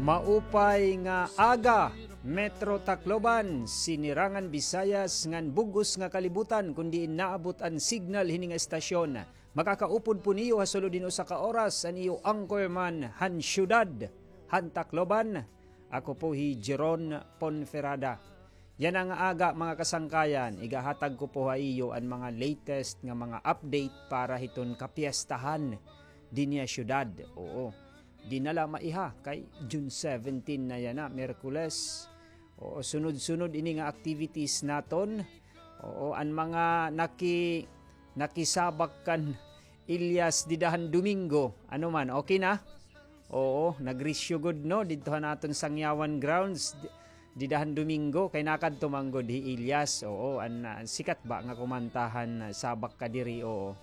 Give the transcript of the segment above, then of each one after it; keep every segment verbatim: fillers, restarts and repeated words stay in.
Maupay nga aga, Metro Tacloban, Sinirangan Visayas ngan bug-os nga kalibutan, kon diin naabot an signal hini nga estasyon. Makakaupod po niyo ha sulod hin usa ka oras an iyo anchorman han siyudad han Tacloban. Ako po hi Jeron Ponferrada. Yana nga aga, mga kasangkayan, igahatag ko po ha iyo an mga latest nga mga update para hiton kapiestahan dinhi ha siyudad. Oo. Di na la maiha kay June seventeen na yana, Miyerkules. Oo, sunod-sunod ini nga activities naton. Oo, an mga naki-, nakisabak kan Elias dida han Domingo. Ano man, okay na? Oo, nagrisyo gud, no, didto han aton Sangyawan grounds, di-, dida han Domingo, kay nakadto man gud hi Elias. Oo, an, ah, sikat ba nga kumanta han, ah, Sabak Ka Diri, oo.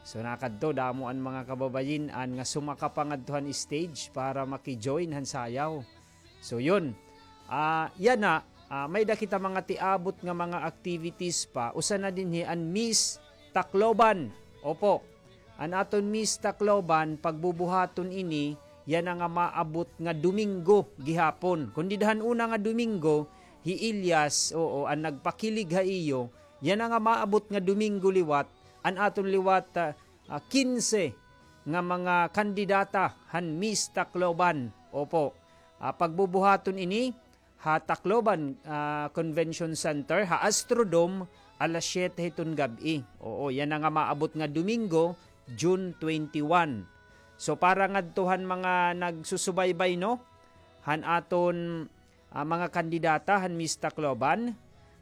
So, nakadto, damo an mga kababayin-an nga sumaka pa ngadto han stage para maki-join han sayaw. So, yun. Ah, yana, ah, may-ada kita mga tiabot nga mga activities pa. Usa na dinhi an Miss Tacloban. Opo. An aton Miss Tacloban, pagbubuhaton ini, yana nga maabot nga Domingo gihapon. Kon dida han una nga Domingo, hi Elias, oo, an nagpakilig ha iyo, yana nga maabot nga Domingo liwat, an aton liwat, ah, ah, kinse nga mga kandidata han Miss Tacloban. Opo. Ah, pagbubuhaton ini ha Tacloban, ah, Convention Center, ha Astrodome, alas siyete hiton gab-i. Oo, yana nga maabot nga Domingo, June twenty-one. So, para ngadto han mga nagsusubaybay, no, han aton, ah, mga kandidata han Miss Tacloban,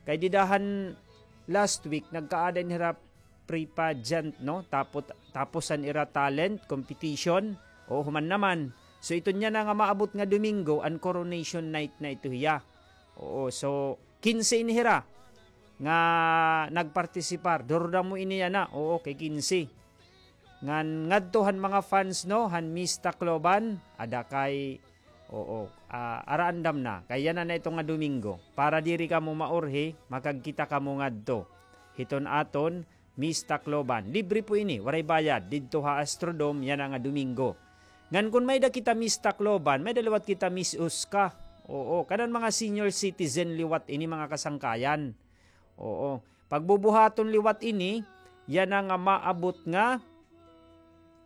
kay dida han last week, nagkaada ini hira pre-pageant, no? Tapos, tapos an ira talent competition. O, human naman. So, iton yana nga maabot nga Domingo, an coronation night na ito hiya. Oo, so, kinse ini hira nga nagpartisipar. Durdamo ini yana. Oo, kay kinse. Ngan ngadto han mga fans, no, han Miss Tacloban, ada kay, oo, ah, ara andam na. Kay yana na ito nga Domingo. Para diri kamo maurhi, makagkita kamo ngadto hiton aton Miss Tacloban. Libre po ini, waray bayad. Didto ha Astrodome, yana nga Domingo. Ngan kon may-ada kita Miss Tacloban, may-ada liwat kita Miss Osca. Oo, kanan mga senior citizen liwat ini, mga kasangkayan. Oo. Pagbubuhaton liwat ini, yana nga maabot nga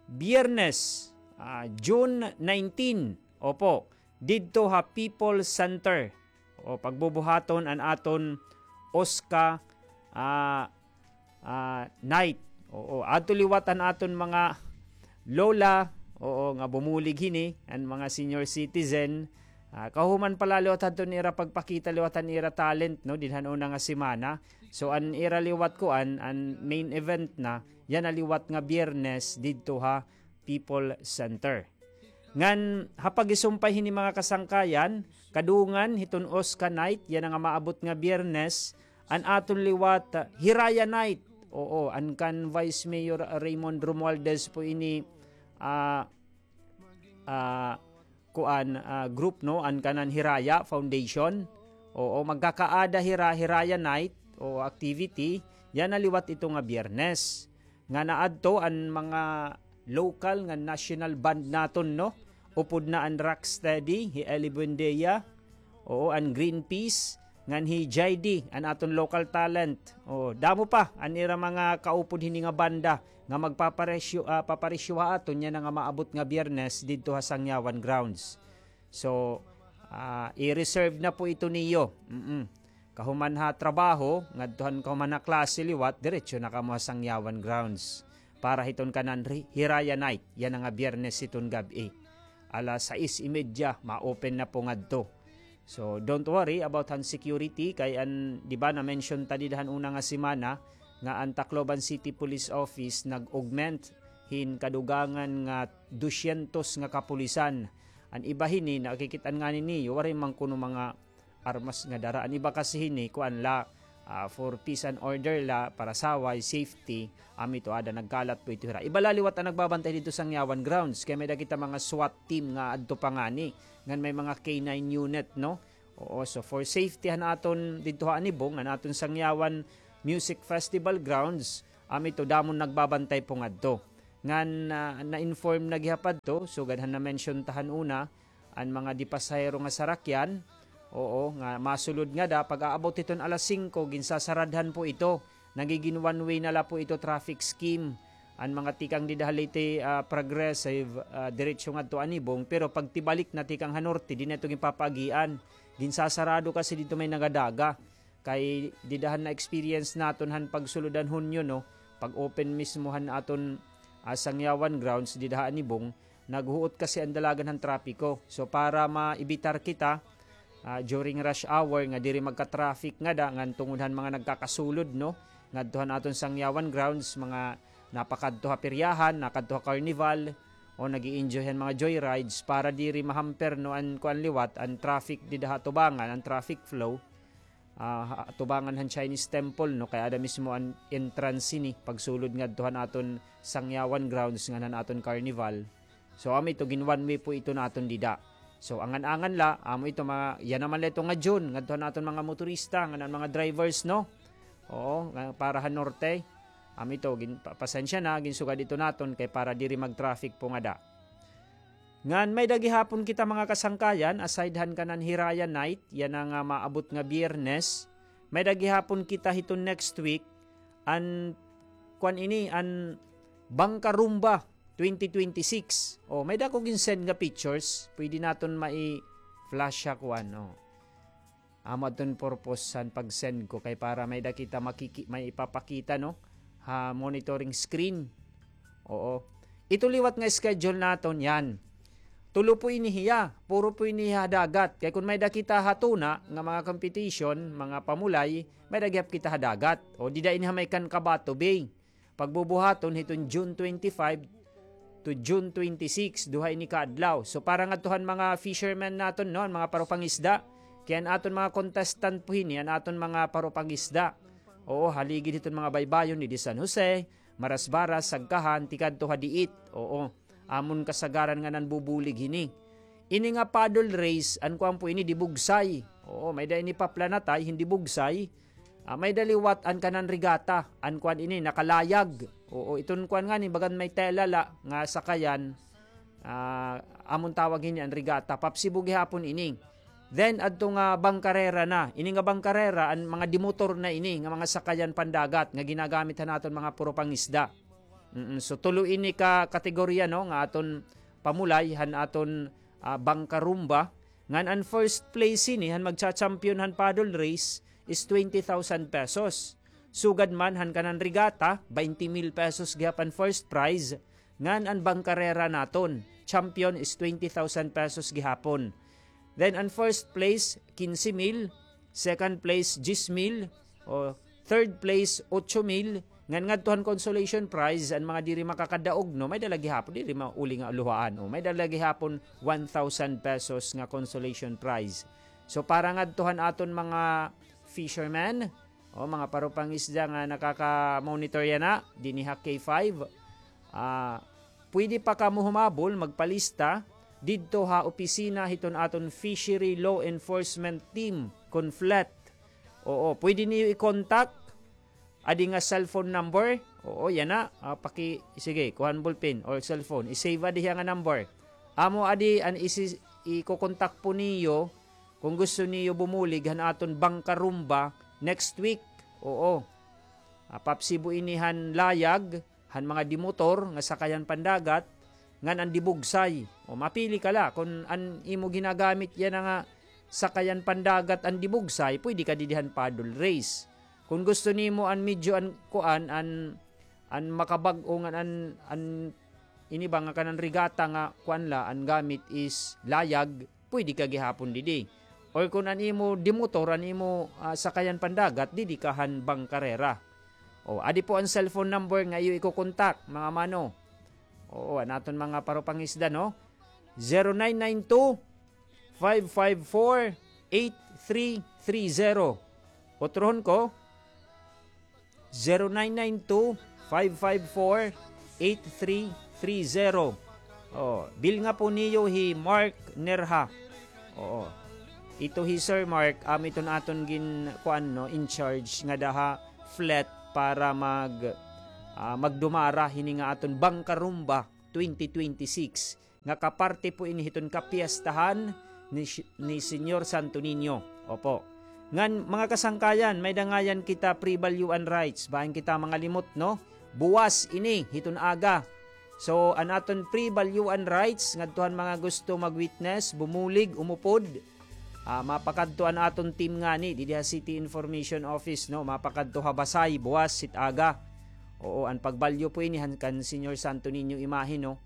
Biyernes, ah, June nineteen. Opo, didto ha People Center. O, pagbubuhaton an aton Osca, ah, ah, night. Oo, adto liwat an aton mga lola, oo, nga bumulig hini, an mga senior citizen. Ah, kahuman pa la liwat hadto an ira pagpakita liwat han ira talent, no, dinhan una nga semana. So, an ira liwat kuan, an main event na, yana liwat nga Biyernes didto ha People Center. Ngan ha pagisumpay hini, mga kasangkayan, kadungan hiton Osca night, yana nga maabot nga Biyernes, an aton liwat, ah, Hiraya night. Oo, an kan Vice Mayor Raymond Romualdez po ini, ah, ah, kuan, ah, group, no, an kanan Hiraya Foundation. Oo, magkakaada hira, Hiraya night o activity, yana liwat ito nga Biyernes. Nga naadto an mga local nga national band naton, no? Upod na an Rocksteady, hi Ellie Buendia, oo, an Green Peas, ngan hi J D, an aton local talent. Oo, damo pa an ira mga kaupod hini nga banda nga magpaparesyo, ah, paparesyo ha aton yana nga maabot nga Biyernes didto ha Sangyawan grounds. So, ah, i-reserve na po ito niyo. Mm-mm. Kahuman ha trabaho, ngadto han kahuman ha klase liwat, diretso na kamo ha Sangyawan grounds. Para hiton kanan ri-, Hiraya night, yana nga Biyernes hiton gab-i. Alas sais y media, ma-open na po ngadto. So, don't worry about han security, kay an, di ba, na-mention ta dida han una nga semana, nga an Tacloban City Police Office nag-augment hin kadugangan nga dusyentos nga kapulisan. An iba hini, nakikit-an ngani niyo, waray man kuno mga armas nga dara. An iba kasi hini, kuan la, ah, for peace and order la, para saway, safety, amo ito ada nagkalat po ito hira. Iba la liwat an nagbabantay didto Sangyawan grounds, kay may-ada kita mga SWAT team nga adto pa ngani, ngan may mga K nine unit, no? Oo, so for safety han aton didto ha anibong, an aton Sangyawan Music Festival grounds, amo ito, damo nagbabantay po ngadto. Ngan, ah, na-inform na gihapon adto, sugad han na-mention ta han una, an mga di pasahero nga sarakyan, oo, nga masulod ngada, pag-aabot hiton alas singko, ginsasaradhan po ito. Nagigin one way na la po ito traffic scheme. An mga tikang dida ha Leyte, ah, Progressive, ah, diretso ngadto Anibong, pero pagtibalik na tikang ha norte, di na ito ginpapaagian. Ginsasarado kasi didto may nagadaga. Kay dida han na-experience naton han pagsulod han Hunyo, no? Pag-open mismo han aton, ah, Sangyawan grounds dida ha Anibong, naghuot kasi an dalagan han trapiko. So, para maibitar kita, ah, during rush hour nga diri magka-traffic ngada ngan tungod han mga nagkakasulod, no? Ngadto han aton Sangyawan grounds, mga napakadto ha peryahan, nakadto ha carnival, o nag-i-enjoy han mga joyrides para diri mahamper, no, an kuan liwat, an traffic dida ha atubangan, an traffic flow. Ah, ha atubangan han Chinese temple, no, kay ada mismo an entrance hini pagsulod ngadto han aton Sangyawan grounds ngan han aton carnival. So, amo ito, gin one way po ito naton dida. So, angan-angan la, amo ito, mga, yana man la ito nga June, ngadto han aton mga motorista, ngan an mga drivers, no? Oo, nga para han norte. Amo ito, gin, pa-, pasensya na, ginsugad ito naton kay para diri mag-traffic po ngada. Ngan may-ada gihapon kita, mga kasangkayan, aside han kanan Hiraya Night, yana nga maabot nga Biyernes. May-ada gihapon kita hiton next week, an, kuan ini, an Bangkarumba twenty twenty-six. O, may-ada ko gin-send nga pictures. Pwede naton mai-flash ha kuan, o. Amo adton purpose han pag-send ko kay para may-ada kita makiki-, may ipapakita, no, ha monitoring screen. Oo. Ito liwat nga schedule naton, yan. Tulo po ini hiya, puro po ini ha dagat. Kay kon may-ada kita ha tuna nga mga competition, mga pamulay, may-ada gihap kita ha dagat. O, dida ini ha may kan Cabato Bay. Pagbubuhaton hiton June twenty-five to June twenty-six, duha ini ka adlaw. So, para ngadto han mga fishermen naton, no, an mga parupangisda, kay an aton mga contestant po hini, an aton mga parupangisda. Oo, haligid hiton mga baybayon didi San Jose, Marasbaras, Sagkahan, tikadto ha Diit. Oo, amon kasagaran nga nanbubulig hini. Ini nga paddle race, an kuan po ini, dibugsay. Oo, may-ada ini paplanatay, hin dibugsay. Ah, may-ada liwat an kanan regata, an kuan ini, nakalayag. Oo, iton kuan ngani, bagan may tela la nga sakayan, ah, amon tawag hini an regata, papsibo gihapon ini. Then, adto nga bangkarera na. Ini nga bangkarera, an mga dimotor na ini, nga mga sakayan pandagat, nga ginagamit han aton mga purupangisda. Mm, so, tulo ini ka kategorya, no, nga aton pamulay, han aton, ah, bangkarumba. Ngan an first place hini han magcha-champion han paddle race is twenty thousand pesos. Sugad man han kanan regata, baynte mil pesos gihap an first prize, ngan an bangkarera naton, champion, is twenty thousand pesos gihapon. Then an first place, kinse mil, second place, diyes mil, o third place, otso mil, ngan ngadto han consolation prize, an mga diri makakadaog, no, may-ada la gihapon, diri mauli nga luhaan, o, may-ada la gihapon one thousand pesos nga consolation prize. So, para ngadto han aton mga fishermen, o, mga parupangisda nga nakaka-monitor yana, dinhi ha K five, ah, pwede pa kamo humabol, magpalista didto ha opisina hiton aton Fishery Law Enforcement Team, kon FLET. Oo, pwede niyo i-contact. Adi nga cellphone number. Oo, yana. Ah, paki-, sige, kuha an ballpen or cellphone. I-save adi hiya nga number. Amo adi an isi-, iko-contact po niyo kon gusto niyo bumulig han aton Bangkarumba next week. Oo. Ah, papsibo ini han layag, han mga dimotor nga sakayan pandagat, ngan an dibugsay. O, mapili ka la kon an imo ginagamit yana nga sakayan pandagat an dibugsay, pwede ka didi han paddle race. Kon gusto nimo an medyo an kuan, an, an makabag-o ngan an, an ini ba nga kanan regata nga kuan la, an gamit is layag, pwede ka gihapon didi. Or kon an imo dimotor, an imo, ah, sakayan pandagat, didi ka han bangkarera. O, adi po an cellphone number nga iyo iko-contact, mga mano. Oo, an aton mga parupangisda, no? Zero nine nine two, five five four, eight three three zero. Utrohon ko, zero nine nine two, five five four, eight three three zero. Oh, bilnga po niyo hi Mark Nerha. Oo. Ito hi Sir Mark, amo iton aton gin-, kuan, no, in charge ngada ha FLET para mag-, ah, magdumara hini nga aton Bangkarumba twenty twenty-six. nga kaparte po ini hiton kapiestahan ni, ni Señor Santo Niño. Opo. Ngan, mga kasangkayan, may dangayan kita pre-balyuan rites. Bahin kita mangalimot, no? Buwas ini, hiton aga. So, an aton pre-balyuan rites, ngadto han mga gusto mag-witness, bumulig, umupod. Ah, mapakadto an aton team ngani, didi ha City Information Office, no? Mapakadto ha Basay, buwas, hit aga. Oo, an pagbalyo po ini han kan Señor Santo Niño imahe, no?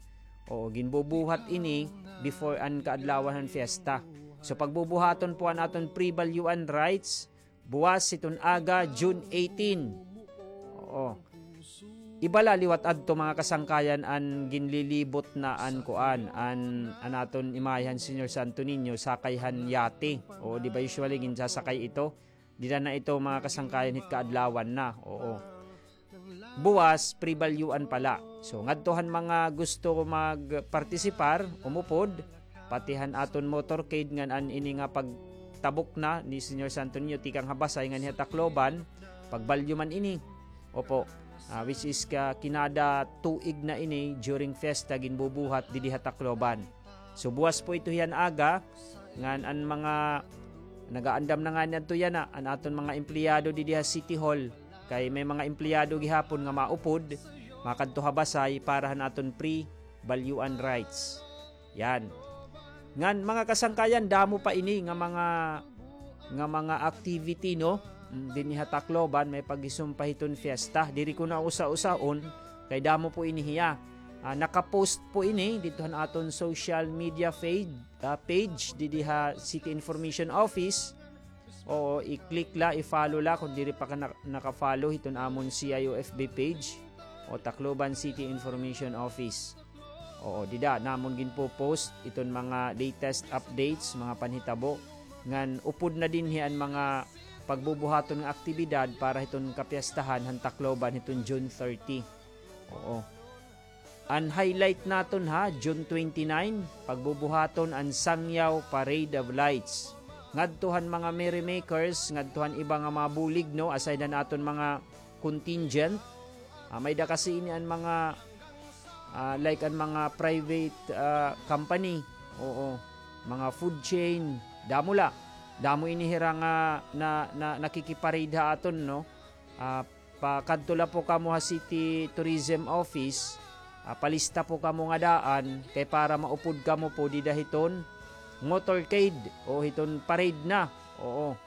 Oo, ginbubuhat ini before an kaadlawan han fiesta. So, pagbubuhaton po an aton pre-balyuan rites, buwas hiton aga, June eighteen. Oo. Iba la liwat adto, mga kasangkayan, an ginlilibot na an kuan, an, an aton imahe han Señor Santo Niño, sakay han yate. Oo, di ba usually ginsasakay ito? Dida na ito, mga kasangkayan, hit kaadlawan na. Oo. Buwas, pre-balyuan pala. So, ngadto han mga gusto magpartisipar, umupod, pati han aton motorcade ngan an ini nga pagtabok na ni Señor Santo Niño tikang ha Basay ngan ha Tacloban, pagbalyo man ini. Opo. Ah, which is ka kinada tuig na ini during fiesta ginbubuhat didi ha Tacloban. So, buwas po ito hiyan aga, ngan an mga nagaandam na ngani adto yana, an aton mga empleyado didi ha City Hall, kay may mga empleyado gihapon nga maupod, makadto ha Basay para han aton pre-balyuan rites. Yan. Ngan, mga kasangkayan, damo pa ini nga mga, nga mga activity, no? Mm, dinhi ha Tacloban, may paghisumpa hiton fiesta. Diri ko na usa-usahon, kay damo po ini hiya. Ah, nakapost po ini didto han aton social media page, ah, page, didi ha City Information Office. Oo, i-click la, i-follow la kon diri pa ka na-, naka-follow hiton amon C I O F B page o Tacloban City Information Office. Oo, dida namon ginpo-post iton mga latest updates, mga panhitabo, ngan upod na dinhi an mga pagbubuhaton nga aktibidad para hiton kapiestahan han Tacloban hiton June thirty. Oo. An highlight naton ha, June twenty-nine, pagbubuhaton an Sangyaw Parade of Lights. Ngadto han mga merrymakers, ngadto han iba nga mga bulig, no, aside han aton mga contingent. Ah, may-ada kasi ini an mga, ah, like an mga private, ah, company. Oo, mga food chain, damo la. Damo ini hira nga na, na, nakikiparade ha aton, no? Ah, pakadto la po kamo ha City Tourism Office, ah, palista po kamo nga daan, kay para maupod kamo po dida hiton motorcade o hiton parade na. Oo.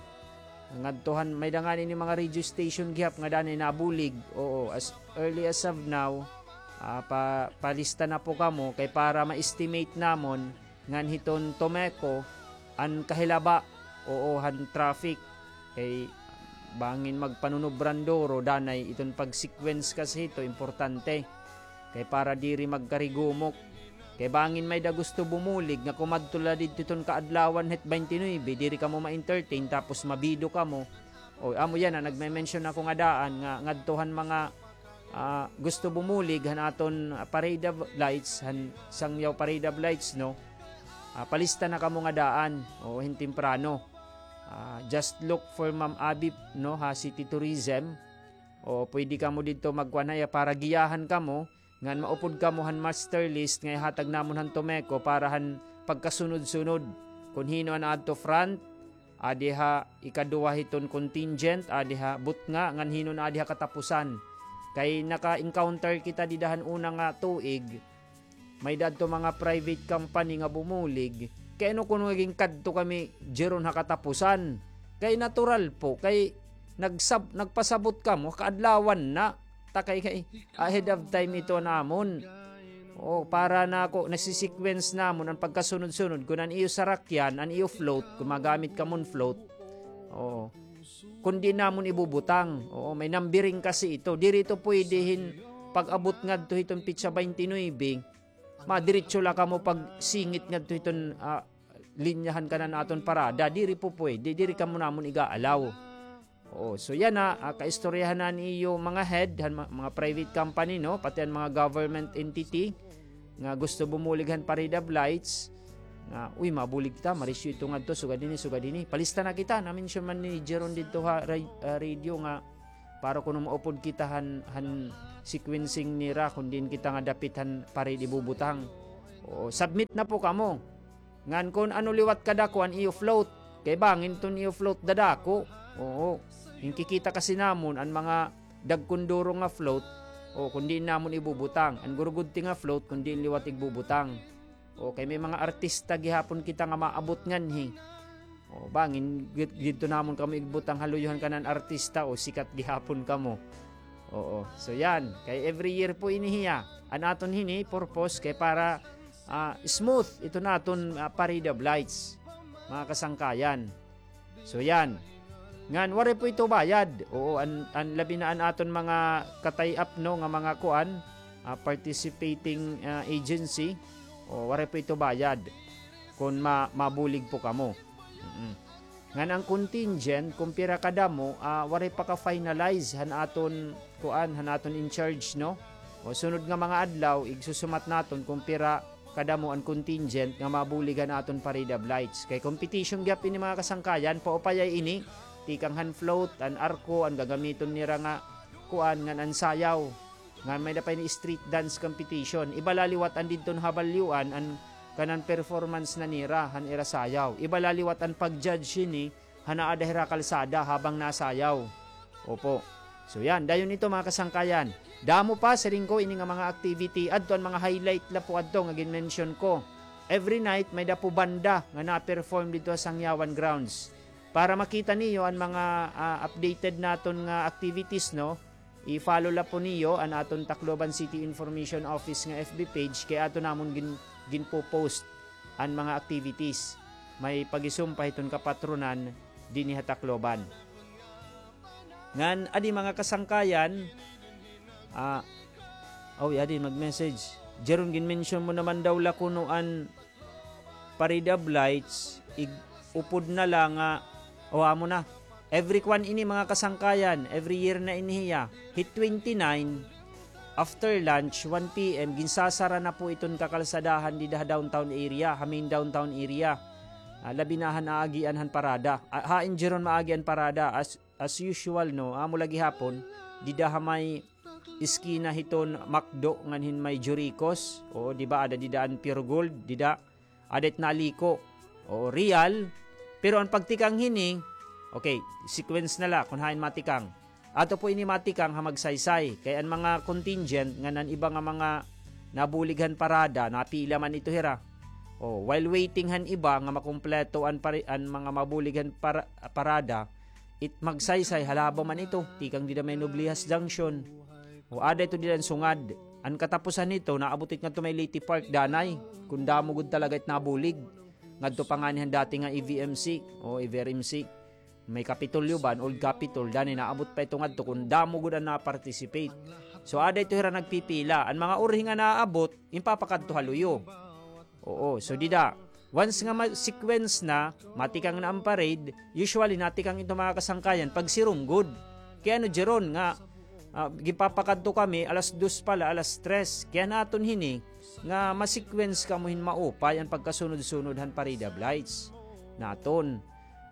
Ngadto han, may-ada ngani ini mga radio station gihap nga danay nabulig. Oo, as early as of now, ah, pa-, palista na po kamo kay para ma-estimate namon ngan hiton Tomeco an kahilaba, oo, han traffic. Kay bangin magpanunobran duro, danay iton pag-sequence kasi hito, importante. Kay para diri magkarigumok. Kay bangin may-ada gusto bumulig nga kumadto la didto hiton kaadlawan hit twenty-nine, diri kamo ma-entertain, tapos mabido kamo. O, amo yana, nagme-mention ako nga daan nga ngadto han mga ah, gusto bumulig han aton, ah, Parade of Lights, han Sangyaw Parade of Lights, no? Ah, palista na kamo nga daan, o, hin temprano. Ah, just look for Ma'am Abby, no, ha City Tourism. O, pwede kamo didto magkuan ha iya para giyahan kamo, ngan maupod kamo han master list nga ihatag namon han Tomeco para han pagkasunod-sunod. Kon hin-o an adto front, adi ha ikaduha hiton contingent, adi ha butnga, ngan hin-o an adi ha katapusan. Kay naka-encounter kita dida han una nga tuig, may-ada adto mga private company nga bumulig. Kay ano kuno nga ginkadto kami diron ha katapusan? Kay natural po, kay nagsab-, nagpasabot kamo, kaadlawan na. Ta kay, kay ahead of time ito namon. O, para na ako, nasi-sequence namon an pagkasunod-sunod. Kon an iyo sarakyan, an iyo float, kon magamit kamo hin float. Oo. Kon diin namon ibubutang. Oo, may numbering kasi ito. Diri ito pwede hin pag-abot ngadto hiton petsa twenty-nine, madiretso la kamo pagsingit ngadto hiton, ah, linya han kanan aton parada. Diri po pwede. Diri kamo namon iga-allow. Oo, so yana, ah, kaistoryahan na an iyo mga head, han ma-, mga private company, no? Pati an mga government entity nga gusto bumulig han Parade of Lights, nga, uy, mabulig kita, marisyo ito ngadto, sugad hini, sugad hini. Palista na kita, na-mention man ni Jeron didto ha ra-, ah, radio nga, para kuno maupod kita han, han sequencing nira, kon diin kita nga dapit han parade ibubutang. Oo, submit na po kamo. Ngan kun ano liwat kadako an iyo float. Kay bangin iton iyo float dadako. Oo. Hinkikita kasi namon an mga dagkon duro nga float. O, kun diin namon ibubutang. An gurugudti nga float, kun diin liwat igbubutang. O, kay may mga artista gihapon kita nga maabot nganhi. O, bangin, gid-, gidto namon kamo igbutang ha luyo han kanan artista, o, sikat gihapon kamo. Oo. So, yan. Kay every year po ini hiya. An aton hini, purpose, kay para, ah, smooth ito naton, ah, parade of lights, mga kasangkayan. So, yan. Ngan, waray po ito bayad. Oo, an, an labi na an aton mga ka-tie-up, no, nga mga kuan, ah, participating, ah, agency. O, waray po ito bayad. Kun ma-, mabulig po kamo. Mm-mm. Ngan an contingent, kun pira kadamo, ah, waray pa ka-finalize han aton, kuan, han aton in charge, no? O, sunod nga mga adlaw, igsusumat naton kun pira kadamo an contingent nga mabulig han aton parade of lights. Kay competition gihap ini, mga kasangkayan, paupayay ini, tikang han float, an arko, an gagamiton nira nga, kuan, ngan an sayaw. Ngan may-ada pa ini street dance competition. Iba la liwat an didton ha Balyuan, an kanan performance na nira, han ira sayaw. Iba la liwat an pag-judge hini, han aada hira kalsada habang nasayaw. Opo. So yan, dayon ito, mga kasangkayan. Damo pa, siring ko, ini nga mga activity. Adto an mga highlight la po adto nga gin-mention ko. Every night, may-ada po banda nga na-perform didto ha Sangyawan Grounds. Para makita niyo an mga, ah, updated naton nga activities, no? I-follow la po niyo an aton Tacloban City Information Office nga F B page kay ato namon gin-, ginpo-post an mga activities. May pag-isumpa hiton kapatronan dinhi ha Tacloban. Ngan, adi mga kasangkayan, ah, aw, adi mag-message. Jeron, gin-mention mo naman daw la kuno an Parade of Lights, ig-upod na la nga, o, amo na. Every kwan ini, mga kasangkayan, every year na ini hiya. Hit twenty-nine, after lunch, one P M, ginsasara na po iton kakalsadahan dida ha downtown area, ha main downtown area. Ah, labi na han aagian han parada. Ah, hain jeron maagi an parada, as, as usual, no, amo la gihapon, dida ha may iskina hiton McDo ngan hin may Juricos. Oo, di ba, ada dida an Pure Gold, dida. Ada it naliko. Oo, Real. Pero an pagtikang hini, okay, sequence na la kun hain matikang. Ato po ini matikang ha Magsaysay. Kay an mga contingent ngan an iba nga mga nabulig han parada, napila man ito hira. O, while waiting han iba nga makumpleto an pari-, an mga mabulig han para-, parada, it Magsaysay, halaba man ito, tikang dida may Noblihas Junction. O, ada ito dida an sungad. An katapusan nito, naabot it ngadto may Leyte Park, danay. Kun damo gud talaga it nabulig. Ngadto pa ngani han dati nga E V M C, o E V R M C. May Kapitolyo ba, an old Capitol, danay naabot pa ito ngadto kun damo gud an na-participate. So, ada ito hira nagpipila. An mga urhi nga naabot, ginpapakadto ha luyo. Oo, so dida. Once nga ma-sequence na, matikang na an parade, usually natikang ito mga kasangkayan, pagsirom gud. Kay ano, jeron nga, ah, ginpapakadto kami, alas dos pa la, alas tres. Kay an aton hini, nga ma-sequence kamo hin maupay an pagkasunod-sunod han parade of lights naton.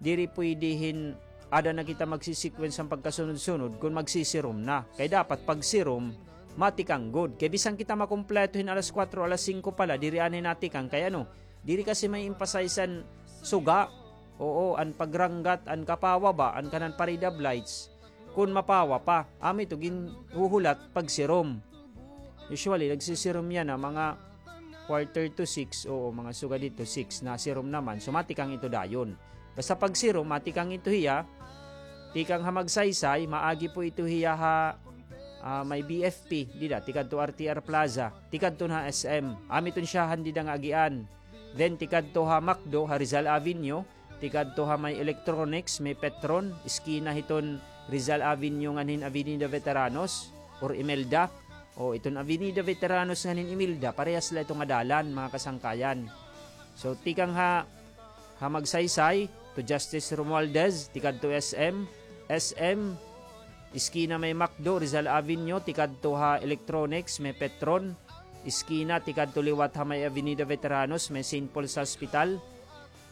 Diri pwede hin ada na kita magsi-sequence han pagkasunod-sunod kun magsisirom na. Kay dapat pagsirom, matikang gud. Kay bisan kita makumpleto hin alas kuwatro, alas singko pa la, diri anay natikang. Kay ano, diri kasi ma-emphasize an suga, oo, an pagranggat, an kapawa ba, an kanan parade of lights. Kun mapawa pa, amo ito ginhuhulat pagsirom. Usually, nagsisirom yana mga quarter to six, oo, mga sugad dito, six, nasirom naman. So, matikang ito dayon. Basta pagsirom, matikang ito hiya. Tikang ha Magsaysay, maagi po ito hiya ha, ah, may B F P, dida, tikadto R T R Plaza, tikadto na S M. Amo iton siyahan dida nga agian. Then, tikadto ha McDo, ha Rizal Avenue, tikadto ha may Electronics, may Petron, iskina hiton Rizal Avenue ngan hin Avenida Veteranos or Imelda. O, iton Avenida Veteranos ngan hin Imelda, parehas la ito nga dalan, mga kasangkayan. So, tikang ha, ha Magsaysay, to Justice Romualdez, tikadto S M, S M, iskina may McDo, Rizal Avenue, tikadto ha Electronics, may Petron, iskina, tikadto liwat ha may Avenida Veteranos, may Saint Paul's Hospital,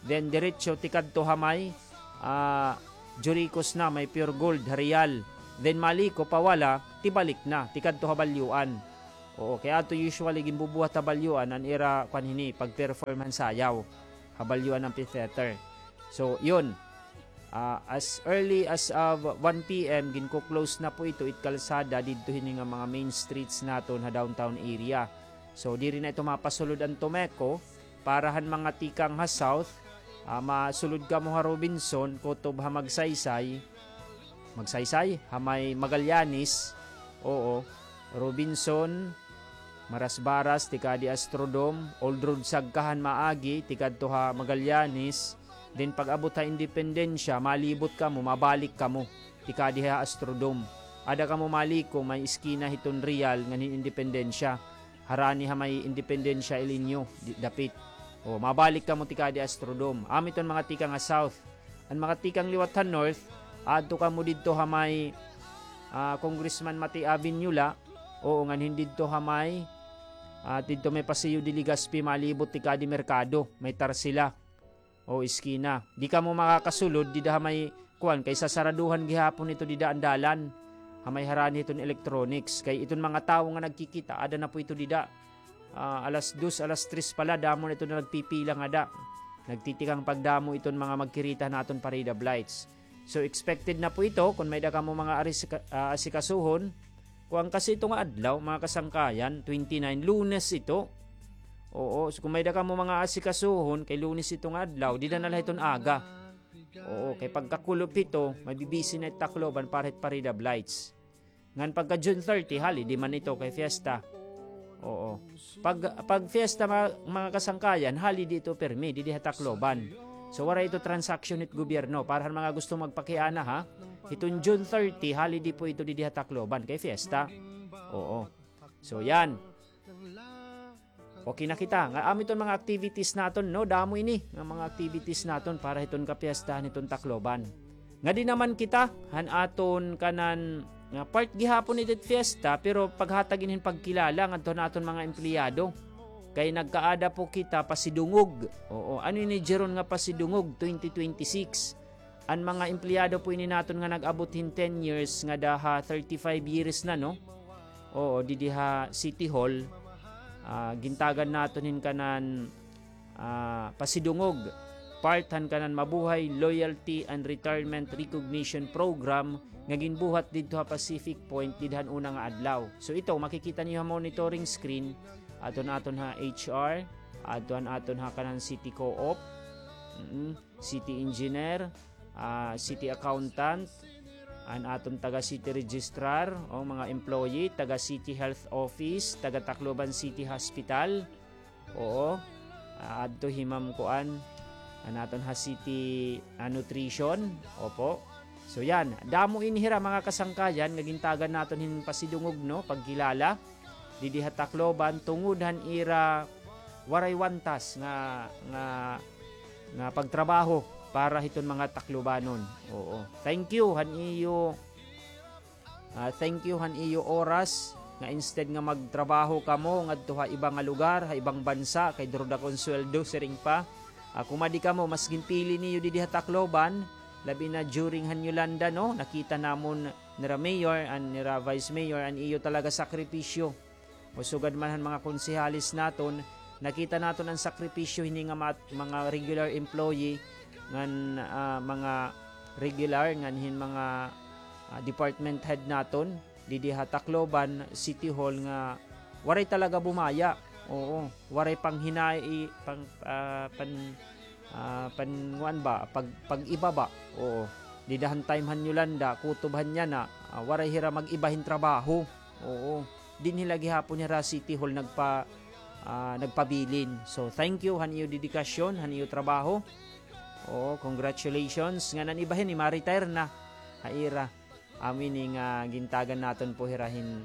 Then diretso tikadto ha may, ah, Juricos na, may Pure Gold ha Real. Then maliko pawala, tibalik na tikadto ha Balyuan. Oo, kay adto usually ginbubuhat ha Balyuan an ira kuan hini, pag-perform han sayaw ha Balyuan Amphitheater. So, yun. Ah, as early as of one P M, ginko-close na po ito it kalsada didto hini nga mga main streets naton ha downtown area. So, diri na ito mapasulod an Tomeco para han mga tikang ha south, ah, masulod kamo ha Robinson, kutob ha Magsaysay, Magsaysay, ha may Magallanes, oo, Robinson, Marasbaras, tikadi Astrodome, Old Road Sagkahan maagi, tikadto ha Magallanes, then pag-abot ha Independencia, malibot kamo, mabalik kamo, tikadi ha Astrodome. Ada kamo maliko, may iskina hiton Real, ngan hin Independencia. Harani ha may Independencia Ileño, di-, dapit. O, mabalik kamo tikadi Astrodome. Amo iton mga tikang ha south. An mga tikang liwat ha north, adto kamo didto ha may, ah, Congressman Mati Avenue la. Oo, ngan hin didto ha may, ah, didto may Paseo de Legazpi, malibot tikadi merkado, may Tarsila. O, iskina. Di kamo makakasulod dida ha may kuan, kay sasaraduhan gihapon ito dida an dalan. Ha may harani hiton electronics. Kay iton mga tawo nga nagkikita, ada na po ito dida. Ah, alas dos, alas tres pa la, damo na ito nga nagpipila ngada. Nagtitikang pagdamo iton mga magkirita han aton parade of lights. So, expected na po ito, kon may-ada kamo mga arisika-, ah, asikasuhon. Kuan kasi ito nga adlaw, mga kasangkayan, twenty-nine, Lunes ito. Oo, so kon may-ada kamo mga asikasuhon, kay Lunes ito nga adlaw, dida na la hiton aga. Oo, kay pagkakulop hito, mabibisi na it Tacloban para hit parade of lights. Ngan pagka June thirty, holiday man ito kay fiesta. Oo. Pag, pag fiesta, mga, mga kasangkayan, holiday ito pirmi, didi ha Tacloban. So, waray ito transaction hit gobyerno. Para han mga gusto magpakiana, ha? Hiton June thirty, holiday po ito didi ha Tacloban kay fiesta. Oo. So, yan. Okay na kita. Nga amo iton mga activities naton, no? Damo ini nga mga activities naton para hiton kapiestahan hiton Tacloban. Ngadi naman kita han aton kanan nga part gihapon itit fiesta, pero paghatag ini hin pagkilala ngadto han aton mga empleyado. Kay nagkaada po kita pasidungog. Oo, ano ini, Jeron, nga pasidungog twenty twenty-six? An mga empleyado po ini naton nga nag-abot hin ten years ngada ha thirty-five years na, no? Oo, didi ha City Hall, ah, gintagan naton hin kanan, ah, pasidungog, part han kanan Mabuhay Loyalty and Retirement Recognition Program nga ginbuhat didto ha Pacific Point dida han una nga adlaw. So ito, makikita niyo ha monitoring screen, adto han aton ha H R, adto han aton ha kanan city co-op. Mm. City engineer, ah, city accountant, an aton taga city registrar, o mga employee, taga city health office, taga Tacloban City Hospital. Oo. Ah, adto hi Ma'am Kuan, an aton ha city, ah, nutrition. Opo. So yan, damo ini hira mga kasangkayan nga gintagan naton hin pasidungog, no, pagkilala didi ha Tacloban tungod han ira waray wantas nga, nga, nga pagtrabaho para hiton mga Taclobanon. Oo. Thank you han iyo, ah, thank you han iyo oras nga instead nga magtrabaho kamo ngadto ha iba nga lugar, ha ibang bansa, kay duro dako an sweldo, siring pa. Ah, kumadi kamo, mas ginpili niyo didi ha Tacloban, labi na during han Yolanda, no? Nakita namon nira mayor and nira vice mayor an iyo talaga sakripisyo. O sugad man han mga konsehales naton, nakita naton an sakripisyo hini nga mat-, mga regular employee ngan, ah, mga regular ngan hin mga, ah, department head naton didi ha Tacloban City Hall nga waray talaga bumaya. Oo, waray panghinay, pang, ah, pan, ah, panguan ba, pag, pag-iba ba. Oo. Dida han time han Yolanda, kutob han yana, ah, waray hira mag-iba hin trabaho. Oo. Dinhi la gihapon hira City Hall nagpa-, ah, nagpabilin. So, thank you han iyo dedikasyon, han iyo trabaho. Oo, congratulations. Ngan an iba hini ma-retire na ha ira. Amo ini nga gintagan naton po hira hin,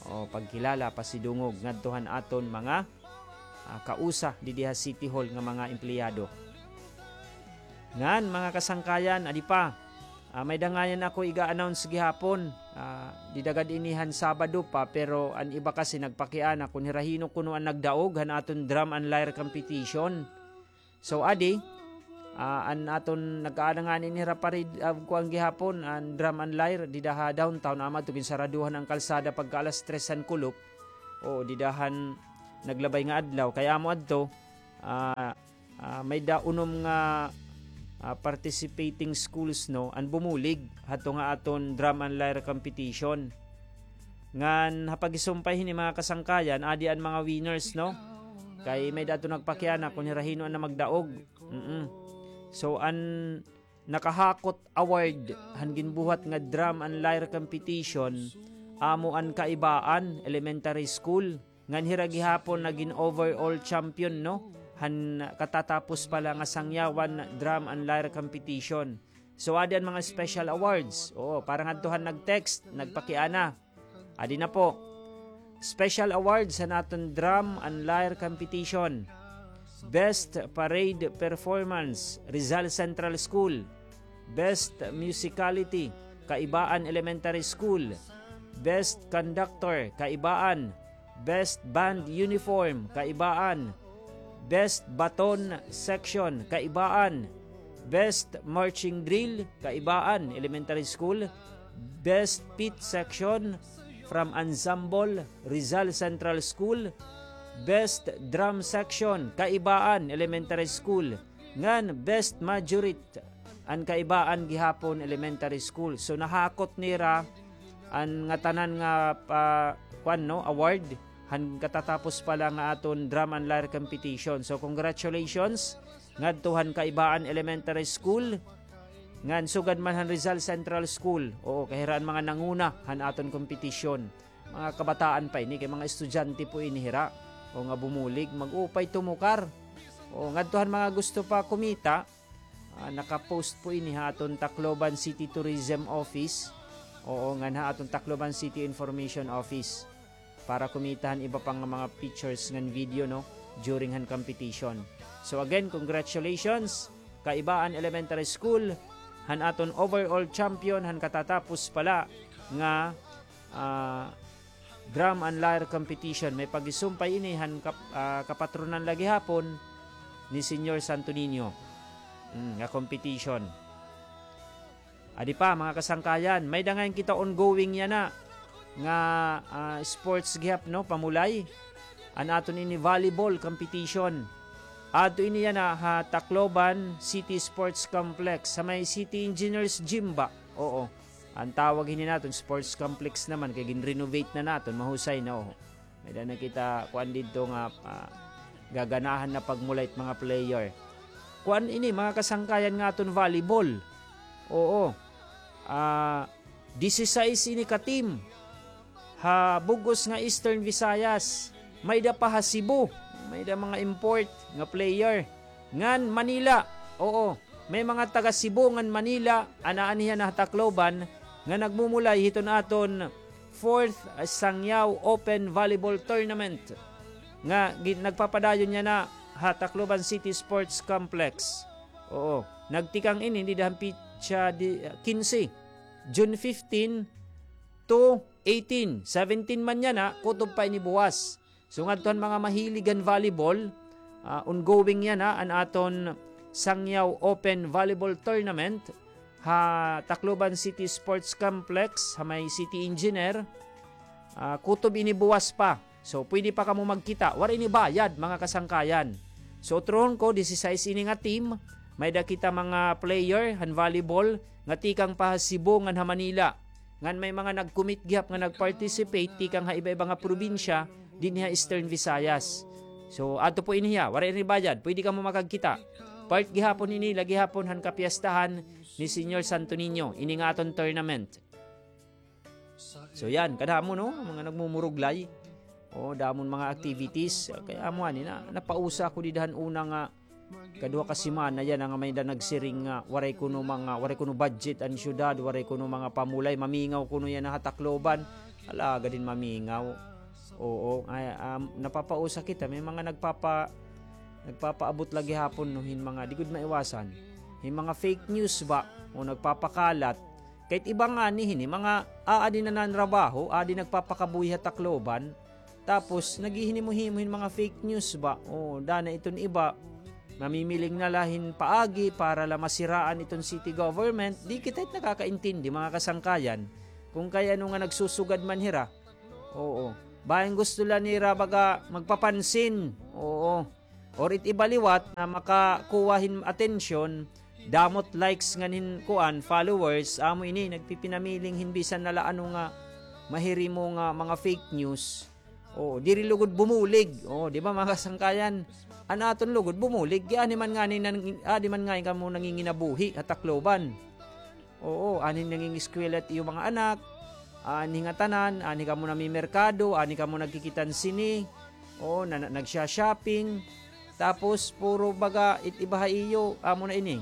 o, pagkilala, pasidungog ngadto han aton mga, ah, kausa didi ha City Hall nga mga empleyado. Ngan, mga kasangkayan, adi pa, ah, may dangayan ako iga-announce gihapon. Ah, dida gad ini han Sabado pa, pero an iba kasi nagpakiana kon hira hin-o kuno an nagdaog han aton drum and lyre competition. So, adi, ah, an aton nagkaada ngani ini hira parade, ah, kuan gihapon, an drum and lyre, dida ha downtown, amo adto ginsaraduhan an kalsada pagka alas tres han kulop. Oo, dida han naglabay nga adlaw. Kay amo adto, ah, ah, may-ada unom nga, ah, participating schools, no, an bumulig hadto nga aton drum and lyre competition. Ngan ha pagisumpay hini, mga kasangkayan, adi an mga winners, no? Kay may-ada adto nagpakiana kon hira hin-o an magdaog. Mm-mm. So, an nakahakot award han ginbuhat nga drum and lyre competition, amo an Kaibaan Elementary School. Ngan hira gihapon nagin overall champion, no, han katatapos pa la nga Sangyawan Drum and Lyre Competition. So, adi an mga special awards. Oo, para ngadto han nag-text, nagpakiana. Adi na po. Special awards han aton Drum and Lyre Competition. Best Parade Performance, Rizal Central School. Best Musicality, Kaibaan Elementary School. Best Conductor, Kaibaan. Best Band Uniform, Kaibaan. Best Baton Section, Kaibaan. Best Marching Drill, Kaibaan Elementary School. Best Pit Section from Ensemble, Rizal Central School. Best Drum Section, Kaibaan Elementary School. Ngan Best Majorette, an Kaibaan gihapon Elementary School. So, nahakot nira an ngatanan nga pa, kuan, no, award han katatapos pa la nga aton drum and lyre competition. So, congratulations ngadto han Kaibaan Elementary School, ngan sugad man han Rizal Central School. Oo, kay hira an mga nanguna han aton kompetisyon. Mga kabataan pa ini, kay mga estudyante po ini hira. O, nga bumulig, mag-upay tumukar. O, ngadto han mga gusto pa kumita, ah, naka-post po ini ha aton Tacloban City Tourism Office. Oo, ngan ha aton Tacloban City Information Office. Para kumita han iba pa nga mga pictures ngan video, no, during han competition. So again, congratulations, Kaibaan Elementary School, han aton overall champion han katatapos pa la nga, ah, drum and lyre competition. May pagisumpay ini han kap-, ah, kapatronan la gihapon ni Señor Santo Niño. Mm, nga competition. Adi pa, mga kasangkayan, may-ada ngay-an kita ongoing yana nga, ah, sports gihap, no, Pamulay. An aton ini volleyball competition. Adto ini yana ha Tacloban City Sports Complex, ha may City Engineers Gym ba? Oo. An tawag hini naton, sports complex naman, kay gin-renovate na naton, mahusay na, oh. May-ada na kita, kuan didto nga, ah, gaganahan na pagmulay it mga player. Kuan ini, mga kasangkayan, nga aton volleyball. Oo. Ah, disisais ini ka team. Ha bug-os nga Eastern Visayas, may-ada pa ha Cebu, may-ada mga import nga player. Ngan Manila, oo, may mga taga Cebu ngan Manila, anaa niya na ha Tacloban, nga nagmumulay hiton aton fourth Sangyao Open Volleyball Tournament nga gi-, nagpapadayon niya na ha Tacloban City Sports Complex. Oo, nagtikang ini dida han petsa di, kinse, June fifteen to eighteen, seventeen man yana, kutob pa ini buwas. So, ngadto han mga mahilig han volleyball, ah, ongoing yana an aton Sangyao Open Volleyball Tournament ha Tacloban City Sports Complex, ha may City Engineer. Ah, kutob ini buwas pa. So, pwede pa kamo magkita. Waray ini bayad, mga kasangkayan. So, utrohon ko, disisais ini nga team. May-ada kita mga player han volleyball nga tikang pa ha Cebu ngan ha Manila. Ngan may mga nag-commit gihap nga nag-participate tikang ha iba-iba nga probinsya dinhi ha Eastern Visayas. So, adto po ini hiya, waray ini bayad, pwede kamo makagkita. Part gihapon ini la gihapon han kapiestahan ni Señor Santo Niño, ini nga aton tournament. So, yan, kadamo, no, mga nagmumuruglay. O, damon mga activities. Kay amo ani na, napausa ako dida han una nga kaduha ka semana yana nga may-ada nagsiring nga waray kuno mga, waray kuno budget an syudad, waray kuno mga pamulay, mamingaw kuno yana ha Tacloban. Alagad hin mamingaw. Oo, ay, um, napapausa kita, may mga nagpapa-, nagpapaabot la gihapon, no, hin mga, di gud maiwasan, hin mga fake news ba, o nagpapakalat. Kay it iba ngani hini, mga aadi na nanrabaho, aadi nagpapakabuhi ha Tacloban, tapos naghihinimo-himo hin mga fake news ba? O, dana iton iba, mamimiling na la hin paagi para la masiraan iton city government. Di kita it nakakaintindi, mga kasangkayan, kon kay ano nga nagsusugad man hira. Oo. Bangin gusto la nira baga magpapansin. Oo. Or it iba liwat nga makakuha hin atensyon, damo it likes ngan hin kuan, followers, amo ini, nagpipinamiling hin bisan na la ano nga mahirimo nga mga fake news. Oo, diri lugod bumulig. Oo, di ba, mga kasangkayan? An aton lugod bumulig, kay ani man ngani nan-, adi man ngani kamo nanginginabuhi ha Tacloban. Oo, anhi nangingiskwela it iyo mga anak, anhi ngatanan, anhi kamo namimerkado, anhi kamo nagkikita hin sine, oo, na, na, nagsha-shopping. Tapos, puro baga it iba ha iyo, amo na ini.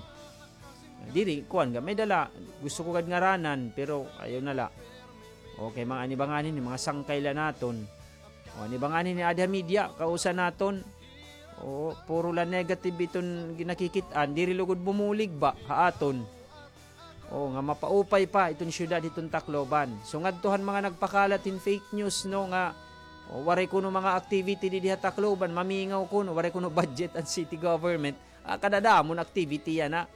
Diri, kuan gad, may-ada la, gusto ko gad ngaranan, pero ayaw na la. Okay, mga an iba ngani, mga sangkay la naton. O, an iba ngani adi ha media, kausa naton. Oo, puro la negative iton ginakikit-an, diri lugod bumulig ba ha aton. Oo, nga mapaupay pa iton syudad hiton Tacloban. So, ngadto han mga nagpakalat hin fake news, no, nga, o, waray kuno mga activity didi ha Tacloban, mamingaw kuno, waray kuno budget an city government. Ah, kadadamo hin activity yana.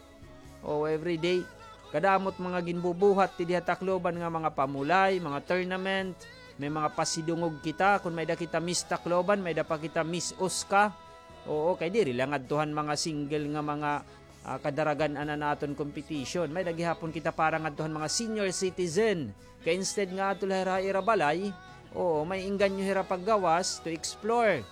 O, everyday. Kadamo it mga ginbubuhat didi ha Tacloban nga mga pamulay, mga tournament, may mga pasidungog kita, kon may-ada kita Miss Tacloban, may-ada pa kita Miss Osca. Oo, kay diri la ngadto han mga single nga mga, ah, kadaragan-an an aton competition. May-ada gihapon kita para ngadto han mga senior citizen. Kay instead nga adto la hira ha ira balay, oo, may engganyo hira paggawas to explore.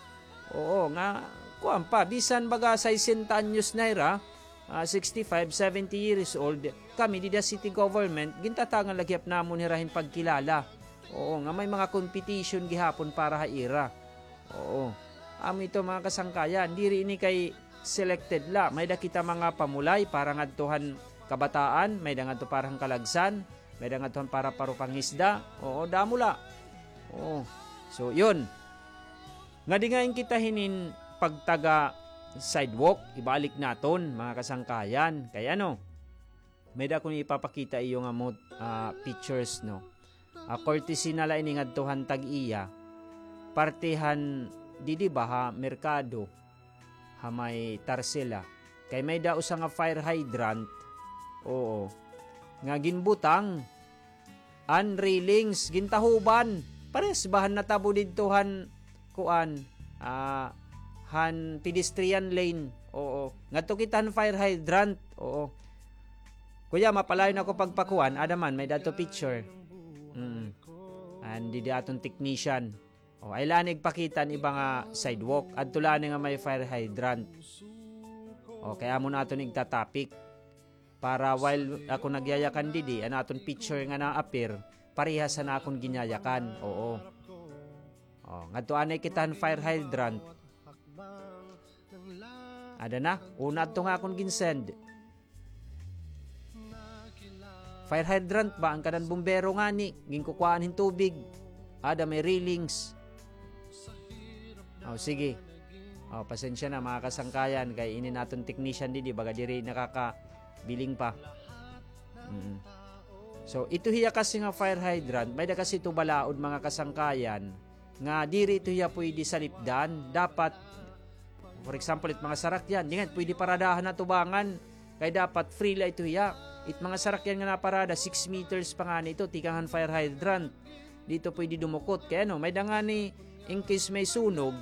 Oo, nga, kuan pa, bisan baga sesenta anyos na hira, ah, sixty-five, seventy years old, kami dida city government, gintatagan la gihap namon hira hin pagkilala. Oo, nga may mga competition gihapon para ha ira. Oo. Amo ito, mga kasangkayan, diri ini kay selected la. May-ada kita mga pamulay para ngadto han kabataan, may-ada ngadto para han kalagsan, may-ada ngadto han para, para pangisda. Oo, damo la. Oo. So, yun. Ngadi ngay-an kita hinin pagtaga sidewalk, ibalik naton, mga kasangkayan. Kay ano, may-ada ako ipapakita iyo nga mo, ah, pictures, no? Ah, courtesy na la ini ngadto han tag-iya. Parte han didi ba ha merkado, ha may Tarsila. Kay may-ada usa nga fire hydrant. Oo. Nga ginbutang an railings, gintahuban. Parehas ba han natabo didto han kuan, ah, han pedestrian lane. Oo. Ngadto kita han fire hydrant. Oo. Kuya, mapalayon ako pagpakuan. Ada man, may-ada adto picture. Mm. An didi aton technician. O, ay la ini igpakita an iba nga sidewalk. Adto la ini nga may fire hydrant. O, kay amo na aton igta-topic. Para while ako nagyayakan didi, an aton picture nga na-appear, parehas han akon ginyayakan. Oo. O, ngadto anay kita han fire hydrant. Ada na, una adto nga akon ginsend. Fire hydrant ba, an kanan bumbero ngani, ginkukuhaan hin tubig. Ada may railings. O, sige. O, pasensya na, mga kasangkayan, kay ini naton technician didi, baga diri nakakabiling pa. Mm. So, ito hiya kasi nga fire hydrant, may-ada kasi ito balaod, mga kasangkayan, nga diri ito hiya pwede salipdan. Dapat, for example, it mga sarakyan, di nga pwede paradahan ha tubangan. Kay dapat free la ito hiya. It mga sarakyan nga naparada, six meters pa ngani ito, tikang han fire hydrant. Di ito pwede dumukot. Kay ano, may-ada ngani, in case may sunog,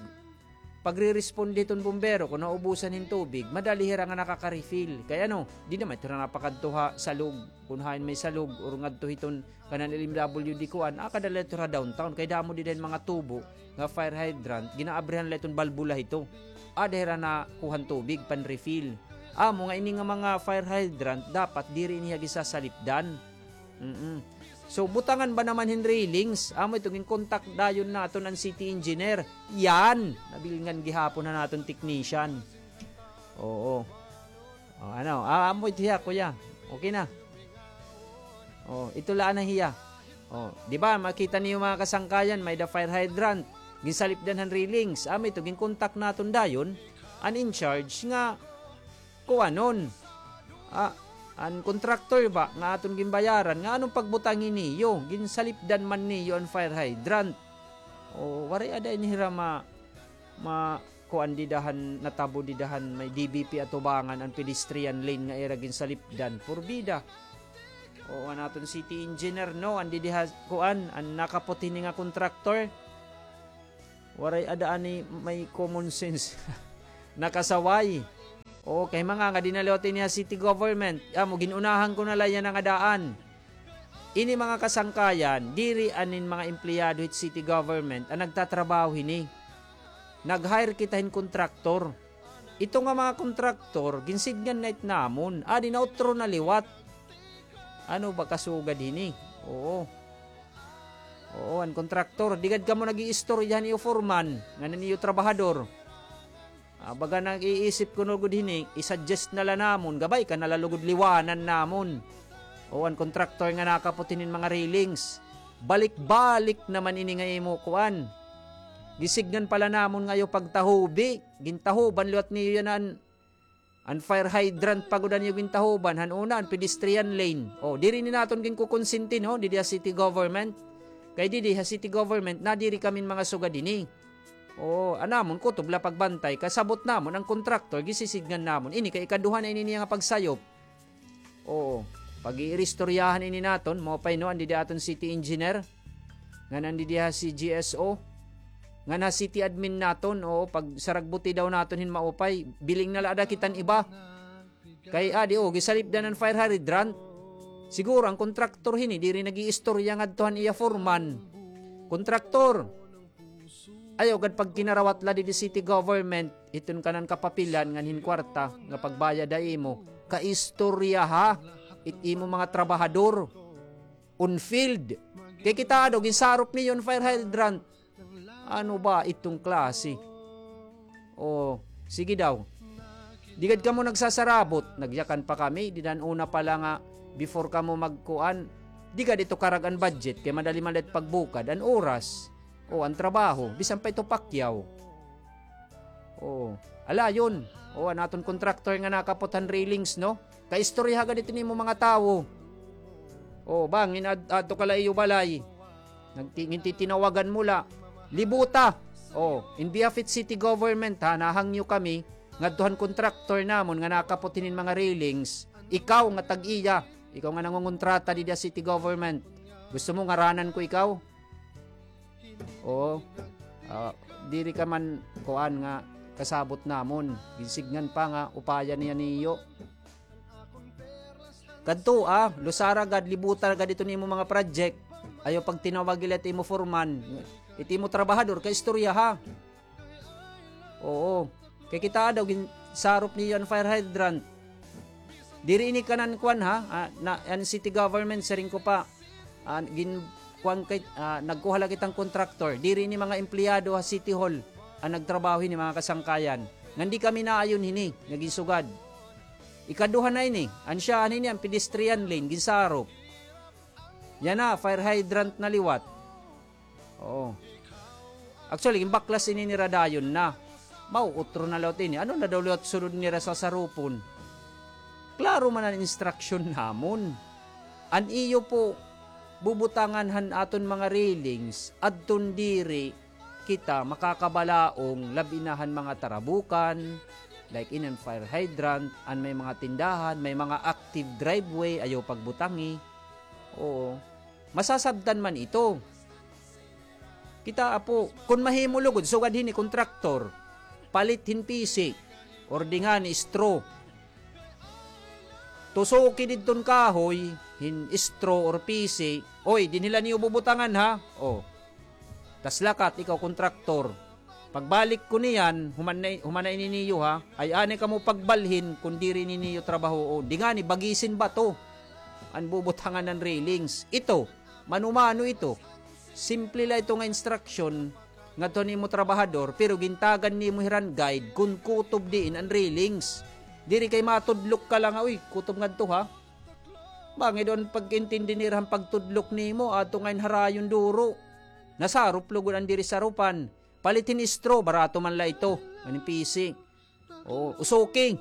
pagre-respond hiton bumbero, kon naubusan hin tubig, madali hira nga nakaka-refill. Kay ano, di naman ito na napakadto ha salog. Kon hain may salog, or ngadto hiton kanan L M W D kuan, ah, kadali ito ha downtown. Kay damo dida hin mga tubo nga fire hydrant, ginaabrihan la iton balbula hito. Ada hira nakuhan tubig, pan-refill. Amo nga ini nga mga fire hydrant, dapat diri ini hiya gisasalipdan. Mm-mm. So, butangan ba naman hin railings? Amo ito, ginkontak dayon naton an city engineer. Yan! Nabilingan gihapon han aton technician. Oo. O, ano? Ah, amo ito hiya, kuya. Okay na. O, ito la na hiya. O, di ba, makita niyo mga kasangkayan, may-ada fire hydrant. Ginsalipdan han railings. Amo ito, ginkontak naton dayon an in charge nga kuanon. Ah, an contractor ba nga aton ginbayaran, nga anon pagbutangi niyo, ginsalipdan man niyo an fire hydrant. O, waray ada ini hira ma-, ma-, kuan dida han, natabo dida han may D B P ha tubangan an pedestrian lane nga ira ginsalipdan. Purbida. O, an aton city engineer, no, an didi ha, kuan, an nakaputi ini nga contractor. Waray ada ani may common sense. Nakasaway. Oo, kay mangangadi na liwat ini ha city government. Amo, gin-unahan ko na la yana nga daan. Ini mga kasangkayan, diri anin mga empleyado hit city government an nagtatrabaho hini. Nag-hire kita hin kontraktor. Ito nga mga kontraktor, ginsidngan na it namon. Adi na utro na liwat. Ano ba kasugad hini? Oo. Oo, an kontraktor, di gad kamo nag-iistorya han iyo foreman, ngan an iyo trabahador. Ah, baga nag-iisip kuno gud hini, i-suggest na la namon, gabay ka na la lugod liwanan namon. O, an kontraktor nga nakapot hinin mga railings. Balik-balik naman ini nga imo kuan. Gisidngan pa la namon nga iyo pagtahubi, gintahuban liwat niyo yana an, an fire hydrant pa gud an iyo gintahuban, han una an pedestrian lane. O, diri ini naton ginkukonsinti, no, didi ha city government. Kay didi ha city government, nadiri kami hin mga sugad hini. Oo, an amon kutob la pagbantay, kasabot namon an kontraktor, gisisidngan namon. Ini kay ikaduha na ini niya nga pagsayop. Oo, pag-iiristoryahan ini naton, maupay no, an didi aton city engineer, ngan an didi ha C G S O, ngan ha city admin naton, oo, pagsaragbuti daw naton hin maupay, biling na la ada kita han iba. Kay adi, o, gisalipdan an fire hydrant. Siguro an kontraktor hini, diri nag-iistorya ngadto han iya foreman. Kontraktor, ayaw gad pagkinarawat la didi city government, hiton kanan kapapilan ngan hin kwarta nga pagbayad ha imo. Kaistoryaha it imo mga trabahador. On field. Kay kita daw, ginsarop niyo an fire hydrant. Ano ba iton klase? O, sige daw. Di gad kamo nagsasarabot, nagyakan pa kami, dida han una pa la nga, before kamo magkuan, di gad ito karag an budget, kay madali man la it pagbukad, an oras, o, an trabaho, bisan pa ito pakyaw. O, ala, yun. O, an aton contractor nga nakapot han railings, no? Kaistoryaha gad ito nimo mga tawo. O, bangin ad-, adto ka la iyo balay. Nagti-, ngintitinawagan mo la. Libuta. O, in behalf it city government, ha, nahangyo kami ngadto han contractor namon nga nakapot hinin mga railings. Ikaw nga tag-iya. Ikaw nga nangongontrata didi ha city government. Gusto mo ngaranan ko ikaw? Oo. Ah, diri ka man kuan nga kasabot namon. Ginsidngan pa nga upaya niya niyo. Kadto, ah, lusara gad, libuta gad ito nimo mga project. Ayaw pagtinawag ila it imo foreman. It imo trabahador, kaistoryaha. Oo. Kay kita daw, ginsarop niyo an fire hydrant. Diri ini kanan kuan, ha? Ah, na, an city government, siring ko pa. Ah, gin-, kuan kay, ah, nagkuha la kita hin contractor. Diri ini mga empleyado ha City Hall an nagtrabaho hini, mga kasangkayan. Ngan di kami naayon hini, nga ginsugad. Ikaduha na ini, an siya, an ini, an pedestrian lane, ginsarop. Yana, fire hydrant na liwat. Oo. Actually, ginbaklas ini nira dayon na. Mauutro na liwat ini. Ano na daw liwat sunod nira sasarupon? Klaro man an instruction namon. An iyo po bubutangan han aton mga railings, adton diri kita makakabalaong, labi na han mga tarabukan, like ini an fire hydrant, an may mga tindahan, may mga active driveway, ayaw pagbutangi. Oo. Masasabtan man ito. Kita, apo, kon mahimo lugod, sugad hini kontraktor, palit hin pisi, or di ngani straw. Tusuki didton kahoy hin straw or pisi. Oy, dinhi la niyo bubutangan, ha? O. Tas lakat, ikaw kontraktor. Pagbalik ko niyan, human na, human na ini niyo, ha? Ay anay kamo pagbalhin kon diri ini niyo trabahoon. Di ngani, bagisin bato an bubutangan han railings. Ito, mano-mano ito. Simple la ito nga instruction ngadto han imo trabahador, pero gintagan nimo hira hin guide kon kutob diin an railings. Diri kay matudlok ka la nga, uy, kutob ngadto, ha? Bangin daw an pagkaintindi nira han pagtudlok nimo, adto ngay-an ha rayon duro. Nasarop lugod an diri saropan. Palit hin straw, barato man la ito. An pisi. O, usuki.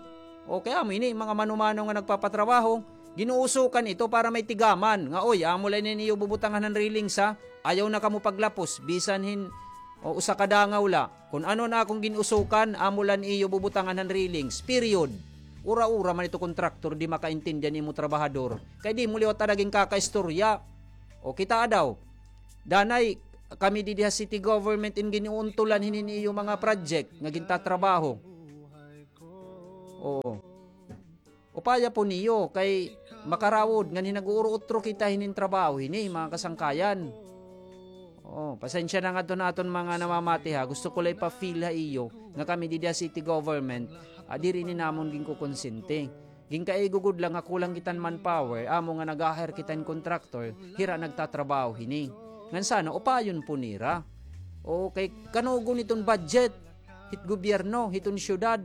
O, kay amo ini, mga mano-mano nga nagpapatrabaho, ginuusukan ito para may tigaman. Nga, oy, amo la ini an iyo bubutangan han railings, ha. Ayaw na kamo paglapos, bisan hin, o, usa ka dangaw la. Kon ano an akon gin-usukan, amo la an iyo bubutangan han railings. Period. Ura-ura man ito kontraktor, di makaintindi an imo trabahador. Kay di mo liwat ada ginkakaistorya. O, kita daw. Danay, kami didi ha city government in gin-uuntulan hinin iyo mga project nga gintatrabaho. Oo. Upaya po niyo kay makarawod ngan hin nag-uuro-utro kita hinin trabaho hini, mga kasangkayan. Oh, pasensya na ngadto ha aton mga namamati ha. Gusto ko la ipa-feel ha iyo nga kami didi ha city government, ah, diri ini namon ginkukonsente. Ginkaigo gud la nga kulang kita hin manpower, amo nga nag-a-hire kita hin contractor, hira nagtatrabaho hini. Ngan sana upayon po nira. O kay kanugon iton budget hit gobyerno, hiton syudad.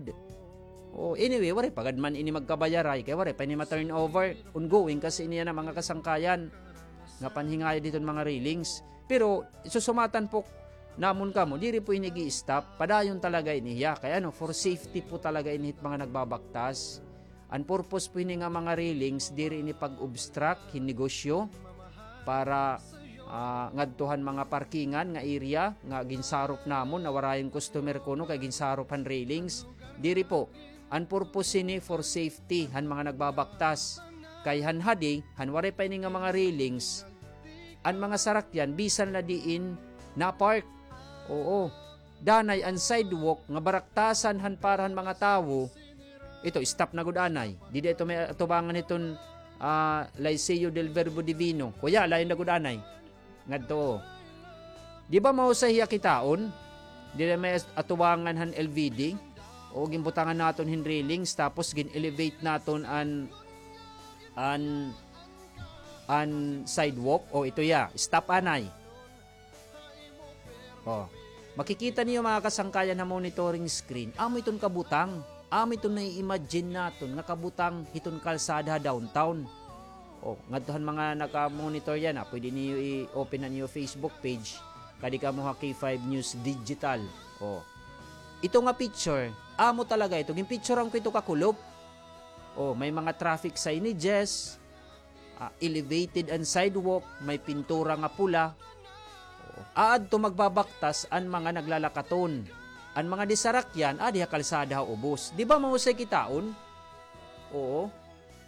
O, anyway, waray pa gad man ini magkabayaray, kay waray pa ini ma-turnover. Ongoing kasi ini yana, mga kasangkayan, nga panhingayod hiton mga railings. Pero, susumatan po namon kamo, diri po ini gi-stop. Padayon talaga ini hiya. Kay ano, for safety po talaga ini hit mga nagbabaktas. An purpose po hini nga mga railings, diri ini pag-obstruct hin negosyo para, ah, ngadto han mga parkingan nga area nga ginsarop namon, nawarayon customer kuno kay ginsarop han railings. Diri po. An purpose hini for safety han mga nagbabaktas. Kay han hadi, han waray pa ini nga mga railings, an mga sarakyan, bisan la diin na-park. Oo. Danay an sidewalk nga baraktasan han para han mga tawo. Ito, stop na gud anay. Dida ito may atubangan hiton, ah, Liceo del Verbo Divino. Kuya, lain na gud anay. Ngadto. Di ba mahusay hiya kitaon? Dida may as-, atubangan han L V D. O, ginbutangan naton hin railings, tapos gin-elevate naton an, an, an sidewalk. O, ito ya. Stop anay. Oh. Makikita niyo, mga kasangkayan, ha monitoring screen, amo iton kabutang. Amo iton nai-imagine naton nga kabutang hiton kalsada ha downtown. Oh, ngadto han mga naka-monitor yana, pwede niyo i-open an iyo Facebook page. Kadi kamo ha K five News Digital. Oh. Ito nga picture, amo talaga ito. Ginpicturean ko ito kakulop. Oh, may mga traffic signages, ah, elevated an sidewalk, may pintura nga pula. Aadto magbabaktas an mga naglalakaton. An mga disarakyan, adi ha kalsada ha ubos. Di ba mahusay kitaon? Oo.